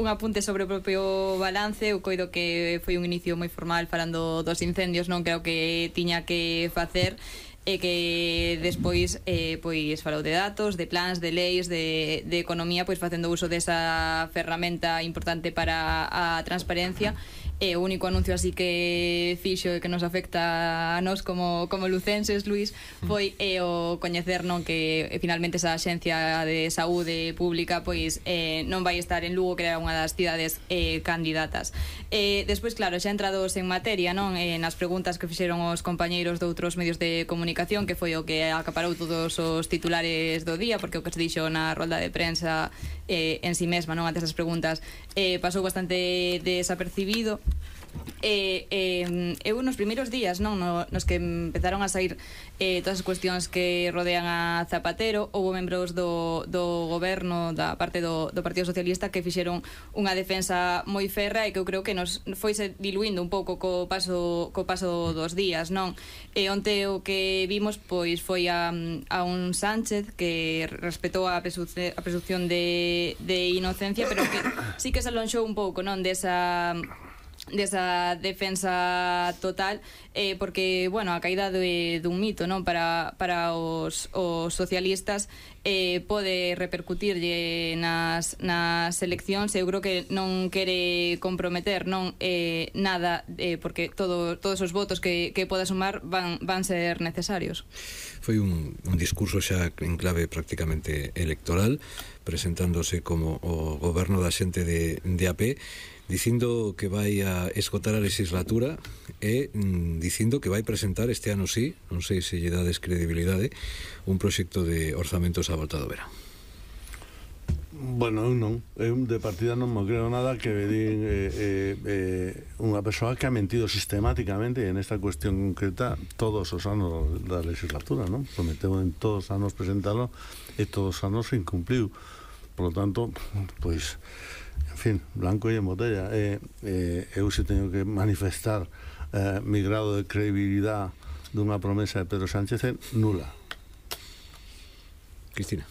apunte sobre o propio balance. Eu coido que foi un inicio moi formal falando dos incendios, non creo que tiña que facer, e que despois pois falou de datos, de plans, de leis, de economía, pois facendo uso desa ferramenta importante para a transparencia. E o único anuncio así que fixo e que nos afecta a nós como lucenses, Luís, foi o coñecer, non, que finalmente esa Axencia de Saúde Pública pois non vai estar en Lugo, que era unha das cidades candidatas. Despois, claro, xa entrados en materia, non, nas preguntas que fixeron os compañeiros de outros medios de comunicación, que foi o que acaparou todos os titulares do día, porque o que se dixo na rolda de prensa en si mesma, non, antes das preguntas, pasou bastante desapercibido. Eu nos primeiros días, non, nos que empezaron a sair todas as cuestións que rodean a Zapatero, houve membros do goberno, da parte do Partido Socialista, que fixeron unha defensa moi ferra e que eu creo que nos foise diluindo un pouco co paso dos días, non? Onte o que vimos pois foi a un Sánchez que respetou a presunción de inocencia, pero que sí que se alonxou un pouco, non, desa defensa total, porque, bueno, a caída dun mito, non, para os socialistas pode repercutirlle nas eleccións. Eu creo que non quere comprometer nada, porque todos os votos que poda sumar van ser necesarios. Foi un discurso xa en clave prácticamente electoral, presentándose como o goberno da xente de AP, dicindo que vai a esgotar a legislatura e dicindo que vai presentar este ano sí, non sei se lle dades credibilidade, un proxecto de orzamentos á volta do verán. Bueno, eu non. Eu de partida non me creo nada que vedín unha persoa que ha mentido sistemáticamente en esta cuestión concreta todos os anos da legislatura, non? Prometeu en todos os anos presentalo e todos os anos se incumpliu. Por lo tanto, pois, en fin, blanco e en botella. Eu se teño que manifestar mi grado de credibilidade dunha promesa de Pedro Sánchez é nula. Cristina.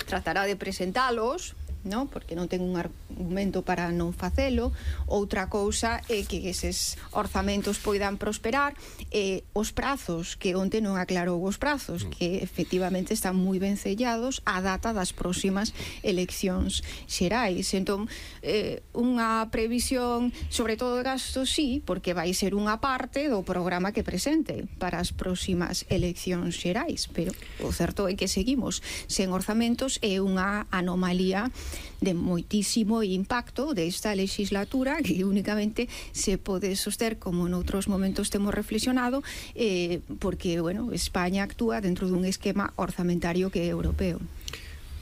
Tratará de presentalos, non? Porque non ten un argumento para non facelo. Outra cousa é que eses orzamentos poidan prosperar, os prazos, que onte non aclarou os prazos, que efectivamente están moi ben sellados á data das próximas eleccións xerais. Entón, unha previsión sobre todo de gastos, sí, porque vai ser unha parte do programa que presente para as próximas eleccións xerais, pero o certo é que seguimos sen orzamentos. É unha anomalía de moitísimo impacto desta legislatura que únicamente se pode soster, como noutros momentos temos reflexionado, porque, bueno, España actúa dentro dun esquema orzamentario que é europeo.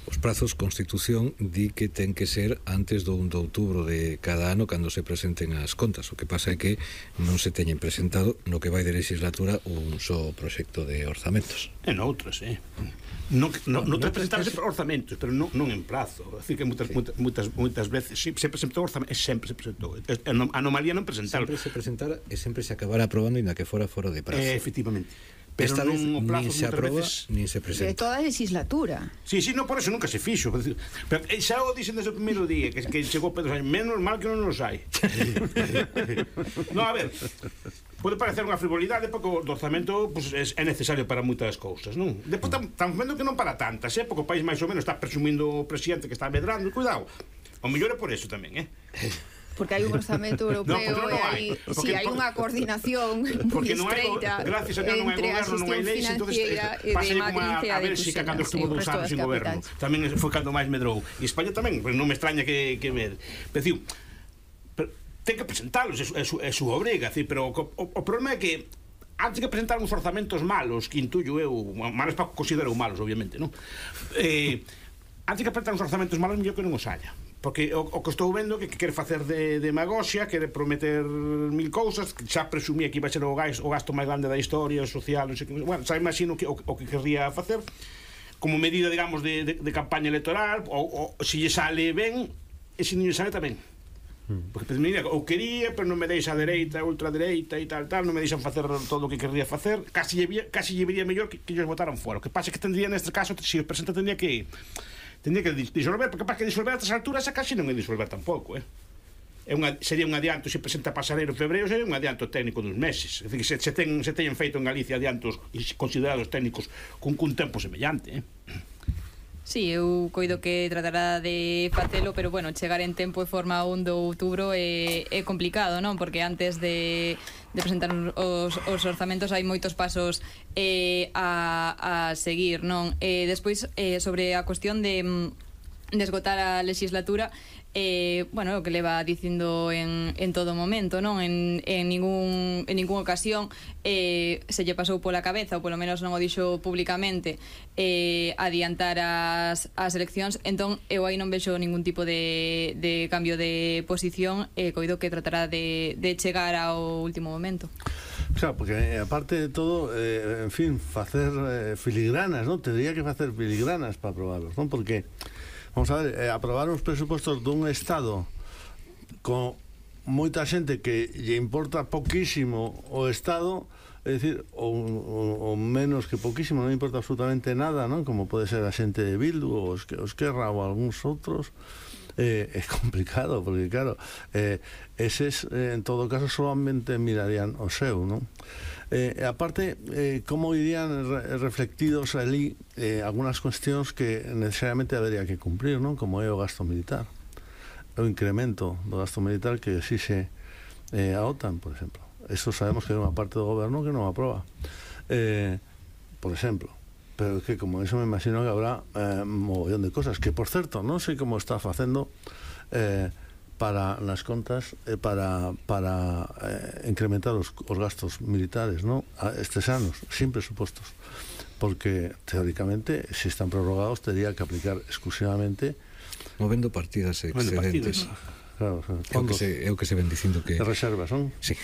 Os prazos, Constitución di que ten que ser antes do 1 de outubro de cada ano cando se presenten as contas. O que pasa é que non se teñen presentado no que vai de legislatura un só proxecto de orzamentos. E noutras, non te presentarse orzamentos, pero non en plazo. É dicir, que moitas veces se presentou orzamentos, sempre se presentou. A anomalía non presentar. Sempre se presentara e sempre se acabara aprobando ainda que fora fora de prazo. Efectivamente. Pero esta vez nin se aproba, veces, nin se presenta. De toda a legislatura. Sí, non, por eso nunca se fixo. Pero xa o dixen desde o primeiro día que chegou Pedro Sánchez, menos mal que non nos hai. Non, a ver, pode parecer unha frivolidade porque o orzamento pues, é necesario para moitas cousas, non? Depois estamos vendo que non para tantas, porque o país máis ou menos está presumindo o presidente que está medrando, cuidado. O mellor é por eso tamén, Porque hai un orzamento europeo e hai unha coordinación moi estreita entre a gestión financiera e de Madrid e a de Bruxelas. Cando estuvo 2 anos sin goberno tamén foi cando máis medrou, e España tamén, non me extraña que me pero ten que presentalos, é súa obriga, pero o problema é que antes que presentar uns orzamentos malos, que intuyo eu, malos para considero malos, obviamente, non? Antes que presentar uns orzamentos malos, mellor que non os haya. Porque o que estou vendo que quere facer de demagoxia, quere prometer mil cousas, que xa presumía que iba a ser o gasto máis grande da historia social, non sei que, bueno, xa imagino o que querría facer como medida, digamos, de campaña electoral, ou se lle sale ben, e se non lle sale tamén. Porque mira, o quería, pero non me deixa a dereita, a ultradereita e tal, non me deixan facer todo o que querría facer, casi lle vería mellor que ellos votaran fora. O que pasa é que tendría, neste caso, se o presenta tendría que Tendría que disolver, porque capaz que disolver a estas alturas a casi non é disolver tampouco, sería un adianto, se presenta Pasarelo en febreiro, sería un adianto técnico dos meses. É dicir, se teñen feito en Galicia adiantos considerados técnicos cun tempo semellante, Sí, eu coido que tratará de facelo, pero bueno, chegar en tempo e forma 1 de outubro é complicado, non? Porque antes de presentar os orzamentos hai moitos pasos a seguir, non? Despois, sobre a cuestión de esgotar a legislatura, bueno, o que leva dicindo en todo momento, non? En ninguna ocasión se lle pasou pola cabeza, ou polo menos non o dixo públicamente, adiantar as eleccións. Entón eu aí non vexo ningún tipo de cambio de posición, coido que tratará de chegar ao último momento. Claro, porque aparte de todo, en fin, facer filigranas, non? Tendría que facer filigranas para aprobarlos, non? Porque vamos a ver, aprobar os presupostos dun Estado con moita xente que lle importa poquísimo o Estado, é dicir, o menos que poquísimo, non importa absolutamente nada, non? Como pode ser a xente de Bildu ou Esquerra ou algúns outros, é complicado, porque claro, eses en todo caso solamente mirarían o seu, non? Aparte, como irían reflectidos ali algunas cuestións que necesariamente habería que cumplir, non? Como é o gasto militar, o incremento do gasto militar que exixe a OTAN, por exemplo. Eso sabemos que é unha parte do goberno que non aproba, por exemplo. Pero que como eso me imagino que habrá mogollón de cosas que, por certo, non sei como está facendo para nas contas para incrementar os gastos militares, ¿no? Estes anos, sin presupostos, porque teóricamente se están prorrogados tería que aplicar exclusivamente movendo partidas excedentes. Claro, fondos, é o que se ven dicindo que de reservas, non? Sí.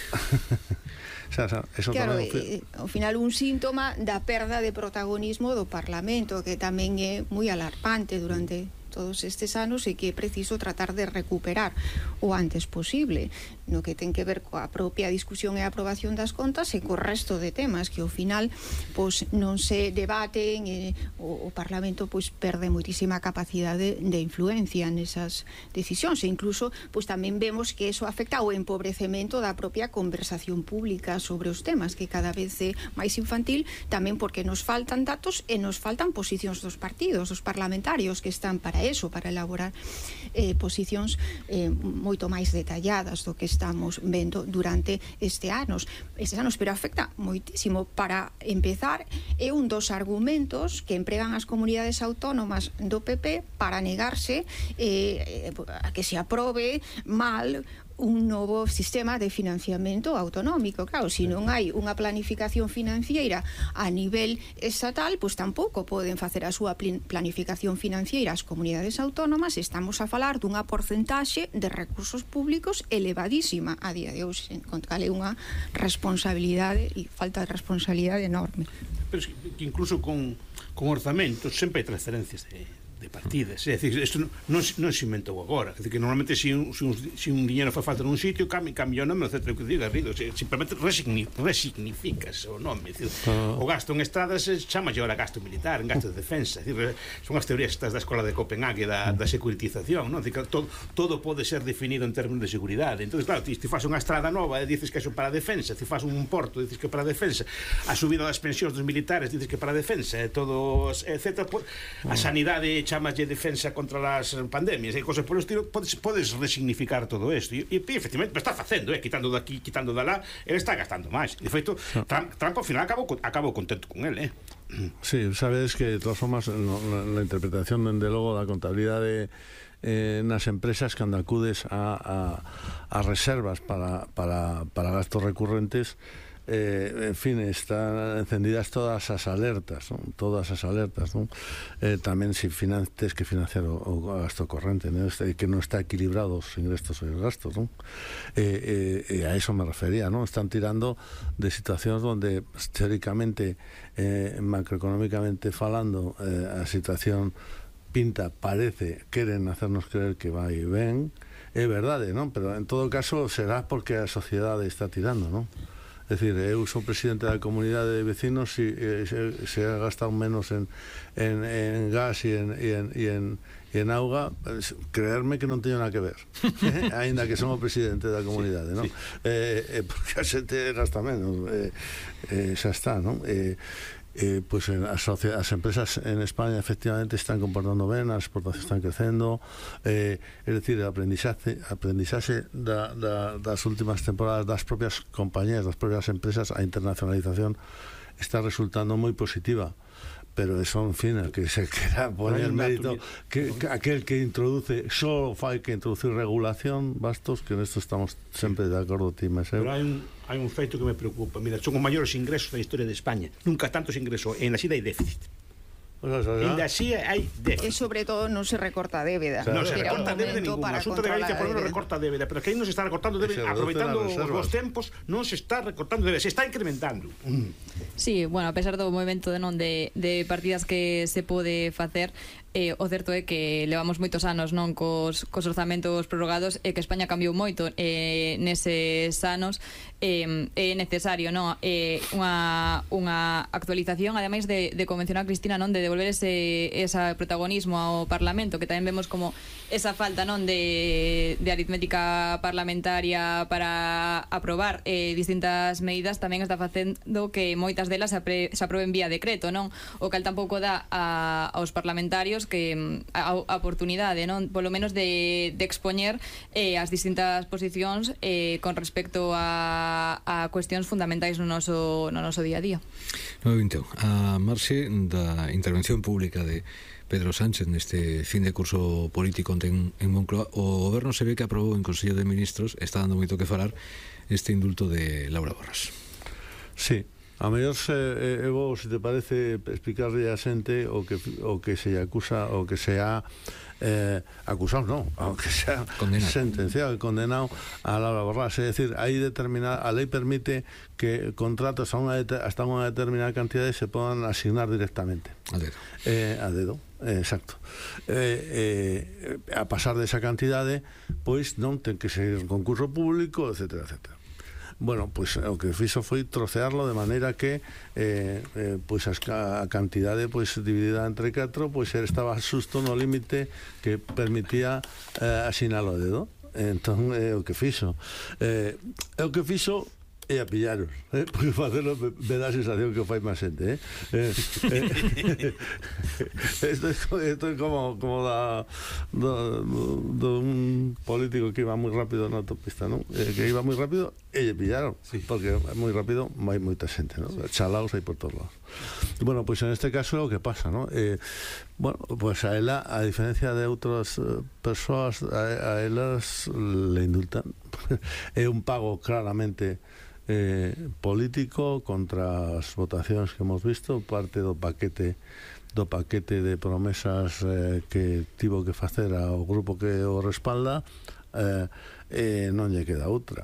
Eso claro, tamén ao final un síntoma da perda de protagonismo do Parlamento, que tamén é moi alarmante durante todos estes anos e que é preciso tratar de recuperar o antes posible, no que ten que ver coa propia discusión e aprobación das contas e co resto de temas que ao final pois non se debaten e o Parlamento pois perde moitísima capacidade de influencia nesas decisións e incluso pois tamén vemos que eso afecta ao empobrecemento da propia conversación pública sobre os temas, que cada vez é máis infantil, tamén porque nos faltan datos e nos faltan posicións dos partidos, dos parlamentarios que están para eso, para elaborar posicións moito máis detalladas do que estamos vendo durante estes anos, pero afecta moitísimo. Para empezar, é un dos argumentos que empregan as comunidades autónomas do PP para negarse a que se aprobe mal un novo sistema de financiamento autonómico. Claro, se non hai unha planificación financiera a nivel estatal, pois tampouco poden facer a súa planificación financiera as comunidades autónomas. Estamos a falar dunha porcentaxe de recursos públicos elevadísima a día de hoxe, con cal é unha responsabilidade e falta de responsabilidade enorme. Pero que incluso con orzamentos sempre hai transferencias de partidas, é dicir, isto non se inventou agora, é dicir, que normalmente se un diñeiro fa falta nun sitio cambia o nome, etc. que diga, simplemente resignificas o nome, é dicir, o gasto en estradas chama agora gasto militar, en gasto de defensa, é dicir, son as teorías estas da escola de Copenhague da securitización, non? É dicir, todo pode ser definido en términos de seguridade. Entonces, claro, ti faz unha estrada nova e dices que é para a defensa, ti faz un porto, dices que é para a defensa, a subida das pensións dos militares dices que é para a defensa, todo, etc. A sanidade chamalle defensa contra as pandemias e cosas por o estilo, podes resignificar todo isto e efectivamente está facendo, quitando daqui, quitando de lá, ele está gastando máis. De feito, Trump ao final acabou contento con ele. Sí, sabes que de todas formas la interpretación dende logo da contabilidade nas empresas cando acudes a reservas para gastos recurrentes, en fin, están encendidas todas as alertas, ¿no? Tamén se tes que financiar o gasto corrente, ¿no? Que non está equilibrado os ingresos e os gastos, ¿no? A eso me refería, ¿no? Están tirando de situacións donde teóricamente, macroeconómicamente falando, a situación parece, queren hacernos creer que vai ben, é verdade, ¿no? Pero en todo caso será porque a sociedade está tirando, ¿no? decir, eu sou presidente da comunidade de vecinos e se ha gastado menos en gas e en auga, creerme que non teño nada que ver, aínda que son o presidente da comunidade, non? Porque a xente gasta menos, xa está, non? Pues as empresas en España efectivamente están comportando ben, as exportacións están crecendo, es decir, o aprendizaxe das últimas temporadas das propias compañías, das propias empresas, a internacionalización está resultando moi positiva. Pero eso, en fin, el que se quiera poner mérito, que aquel que introduce, solo fai que introducir regulación, bastos, que en esto estamos sempre de acordo, ti, Meseu. Pero hai un feito que me preocupa. Mira, son os maiores ingresos da historia de España. Nunca tantos ingresos, en así hai déficit. En así hai déficit. E sobre todo non se recorta débeda. Non se recorta débeda ningún. O asunto de Galicia por non recorta débeda, pero que aí non se está recortando débeda, aproveitando os tempos, non se está recortando débeda, se está incrementando. Sí, bueno, a pesar do movimento de partidas que se pode facer, o certo é que levamos moitos anos non cos orzamentos prorrogados e que España cambiou moito neses anos. É necesario, non? Unha actualización, ademais de convencionar a Cristina, non, de devolver ese protagonismo ao Parlamento, que tamén vemos como esa falta, non, de aritmética parlamentaria para aprobar distintas medidas tamén está facendo que moitas delas se aproben vía decreto, non? O cal tampouco dá aos parlamentarios que a oportunidade, non, polo menos de expoñer as distintas posicións con respecto a cuestións fundamentais no noso día a día. 9:21. A marxe da intervención pública de Pedro Sánchez neste fin de curso político en Moncloa, o goberno se ve que aprobou en Consello de Ministros, está dando moito que falar, este indulto de Laura Borras. Sí. A mellor vou, se te parece, explicarle a xente o que se acusa, o que se ha acusado, non, o que se ha sentenciado e condenado a Laura Borras. É dicir, a lei permite que contratos hasta unha determinada cantidade se podan asignar directamente. A dedo. A dedo, exacto. A pasar desa cantidade, pois non ten que seguir un concurso público, etcétera, etcétera. Bueno, pois o que fixo foi trocearlo de maneira que pois a cantidade pois dividida entre 4 pois estaba xusto no límite que permitía asinalo a dedo. Entón é o que fixo. É o que fixo e a pillaros, porque facelo me dá a sensación que o fai máis xente, Isto é como do un político que iba moi rápido na autopista, non? Que iba moi rápido e lle pillaron, porque moi rápido hai moita xente, non? Chalaos aí por todos lados. Bueno, pois en este caso é o que pasa, non? Bueno, pois a ela, a diferencia de outras persoas, a elas le indultan. É un pago claramente político contra as votacións que hemos visto, parte do paquete de promesas que tivo que facer ao grupo que o respalda, non lle queda outra,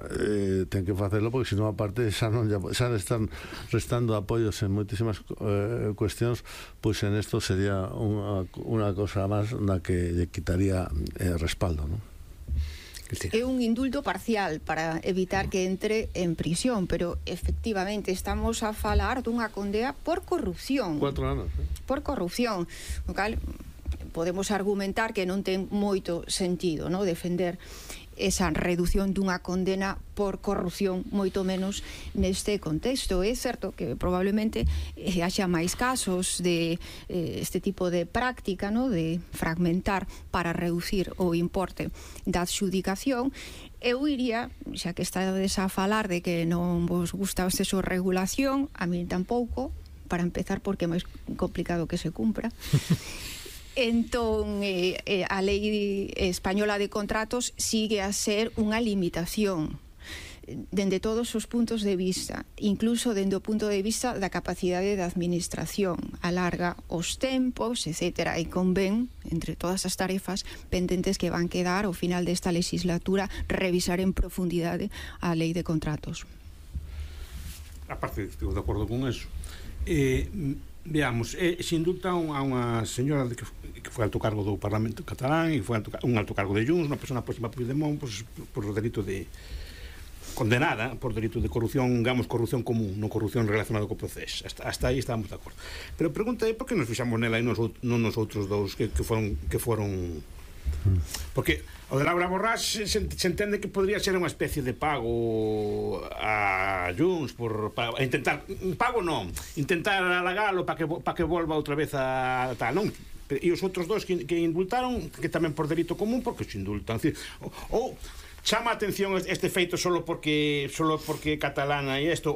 ten que facelo porque senón aparte xa están restando apoios en moitísimas cuestións, pois en isto sería unha cosa máis na que lle quitaría respaldo, non? É un indulto parcial para evitar que entre en prisión, pero efectivamente estamos a falar dunha condena por corrupción. 4 anos. Por corrupción, o cal podemos argumentar que non ten moito sentido, non, defender esa reducción dunha condena por corrupción, moito menos neste contexto. É certo que probablemente haxa máis casos de este tipo de práctica, no, de fragmentar para reducir o importe da adxudicación. Eu iría, xa que estades a falar de que non vos gusta o exceso de regulación, a mí tampouco, para empezar porque é máis complicado que se cumpra. Entón, a lei española de contratos sigue a ser unha limitación dende todos os puntos de vista, incluso dende o punto de vista da capacidade da administración, alarga os tempos, etcétera, e convén, entre todas as tarefas pendentes que van quedar ao final desta legislatura, revisar en profundidade a lei de contratos. Aparte, estou de acordo con eso. Veamos, se indulta a unha señora que foi alto cargo do Parlamento catalán e foi un alto cargo de Junts, unha persona próxima a Puigdemont, por o delito de condenada por delito de corrupción, digamos, corrupción común, non corrupción relacionada co proceso. Hasta aí estamos de acordo. Pero a pregunta é por que nos fixamos nela e non nos outros dous que foron porque o de Laura Borrás se entende que podría ser unha especie de pago a Junts para intentar, pago non, intentar halagalo para que volva outra vez a tal, non? E os outros dos que indultaron, que tamén por delito común, porque se indultan, ou chama a atención este feito solo porque catalana e isto,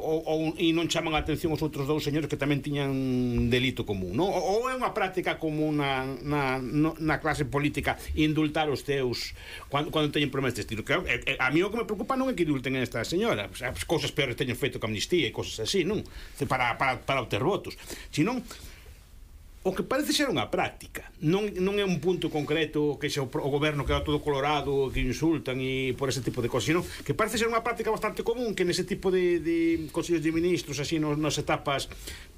e non chaman a atención os outros dous señores que tamén tiñan delito común, non? Ou é unha práctica común na clase política indultar os teus cando teñen problemas deste estilo? A mí o que me preocupa non é que indulten a esta señora, as cousas peores teñen feito que amnistía e cousas así, non? Para obter votos, senón o que parece ser unha práctica, non é un punto concreto que xa o goberno queda todo colorado, que insultan e por ese tipo de cosas, sino que parece ser unha práctica bastante común que nese tipo de consellos de ministros así nas etapas,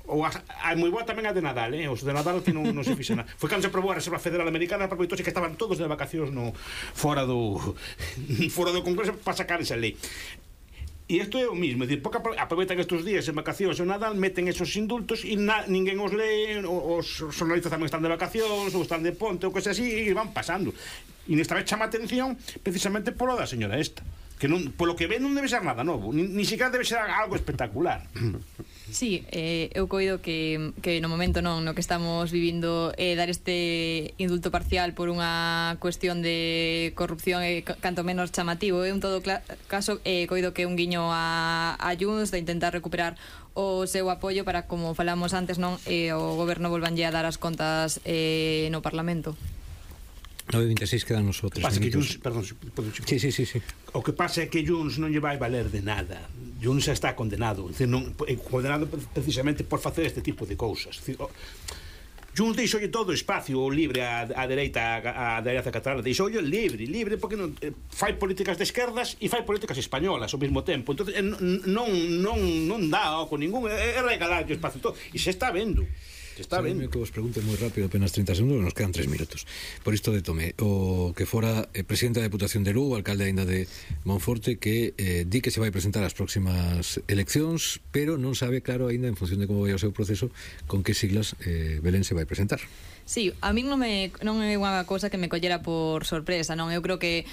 ou hai moi boa tamén a de Nadal, os de Nadal que non se fixa nada. Foi cando se aprobou a Reserva Federal Americana, aproveitouse que estaban todos de vacacións fora do Congreso para sacar esa lei. E isto é o mismo, é dicir, porque aproveitan estes días en vacacións o Nadal, meten esos indultos e ninguén os lee, os xornalistas tamén están de vacacións ou están de ponte ou cosas así e van pasando. E nesta vez chama atención precisamente polo da señora esta, que non, polo que ve non debe ser nada novo, ni siquiera debe ser algo espectacular. Sí, eu coido que no momento no que estamos vivindo dar este indulto parcial por unha cuestión de corrupción canto menos chamativo, en todo caso coido que un guiño a Junts de intentar recuperar o seu apoio para, como falamos antes, non, o goberno volvanlle a dar as contas no Parlamento. 9:26 quedan os outros minutos. Perdón, sí. O que pasa é que Junts non lle vai valer de nada. Junts está condenado, condenado precisamente por facer este tipo de cousas. Junts deixoulle todo o espacio libre á dereita catalana, deixoulle libre porque fai políticas de esquerdas e fai políticas españolas ao mesmo tempo. Entonces non dá con ningún, é regalar o espacio todo, e se está vendo. Está ben. Que vos pregunte moi rápido, apenas 30 segundos, nos quedan 3 minutos. Por isto de Tomé, o que fora presidente da Deputación de Lugo, alcalde aínda de Monforte, que di que se vai presentar as próximas eleccións, pero non sabe claro aínda, en función de como vai o seu proceso, con que siglas Belén se vai presentar. Sí, a mí non é unha cousa que me collera por sorpresa, non? Eu creo que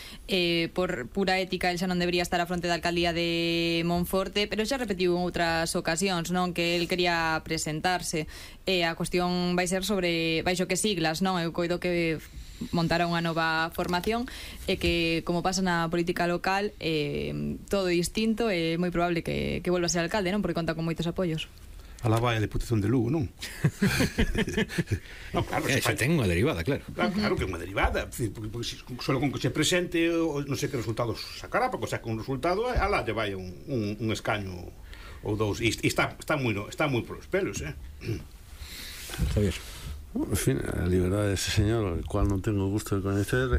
por pura ética el xa non debería estar á fronte da alcaldía de Monforte, pero xa repetiu en outras ocasións, non? Que el quería presentarse. A cuestión vai ser sobre baixo que siglas, non? Eu coido que montará unha nova formación e que, como pasa na política local, todo distinto, é moi probable que volva a ser alcalde, non? Porque conta con moitos apoios. Alá vai a Deputación de Lugo, non? No, claro, xa ten unha derivada, claro. Claro que é unha derivada, porque solo con que se presente, non sei que resultados sacará, porque saca un resultado, alá lle vai un escaño ou dous, e está moi polos pelos, Javier. En fin, a liberdade dese señor, o cual non tengo gusto de coñecer,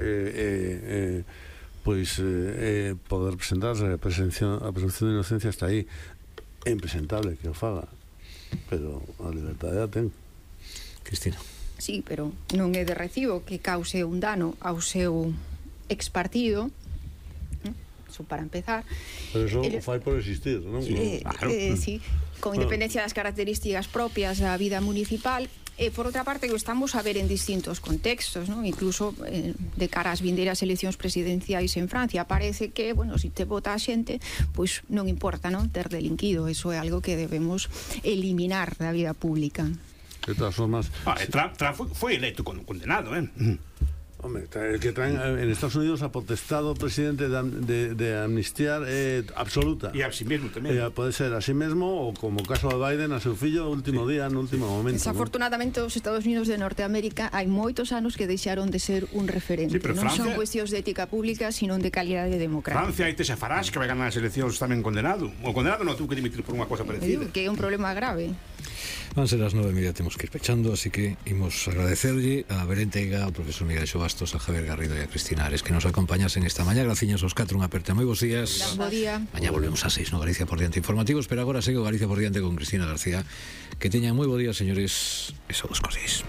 poder presentarse, a presunción de inocencia está aí. É impresentable que o faga, pero a liberdade a ten. Cristina. Sí, pero non é de recibo que cause un dano ao seu expartido, eso para empezar. Pero eso o fai por existir, non? Claro. Sí, con independencia das características propias da vida municipal. Por outra parte, que estamos a ver en distintos contextos, ¿no? Incluso de cara ás vindeiras eleccións presidenciais en Francia, parece que, bueno, se te vota a xente, pois non importa, non, ter delinquido. Eso é algo que debemos eliminar da vida pública. De todas formas, Trump foi electo condenado, Hombre, el que traen en Estados Unidos ha potestado al presidente de amnistiar absoluta. E a sí mesmo tamén. Pode ser a sí mesmo ou como o caso de Biden a seu fillo último día, no último momento. Desafortunadamente, os Estados Unidos de Norteamérica hai moitos anos que deixaron de ser un referente. Sí, non Francia... son cuestións de ética pública, sino de calidade democrática. Francia hai Tesa Farage que vai ganar as eleccións tamén condenado. O condenado non tuvo que dimitir por unha cosa parecida. Que é un problema grave. Van ser as 9:30, temos que ir pechando, así que imos agradecerlle a Belén Teiga, ao profesor Miguel Xobastos, a Javier Garrido e a Cristina Ares que nos acompañasen esta mañá. Graciñas aos 4, unha aperta, moi bons días. Bo día. Mañá volvemos a 6 no Galicia por Diante Informativos, pero agora segue o Galicia por Diante con Cristina García. Que teñan moi bo día, señores, e só dos cosís.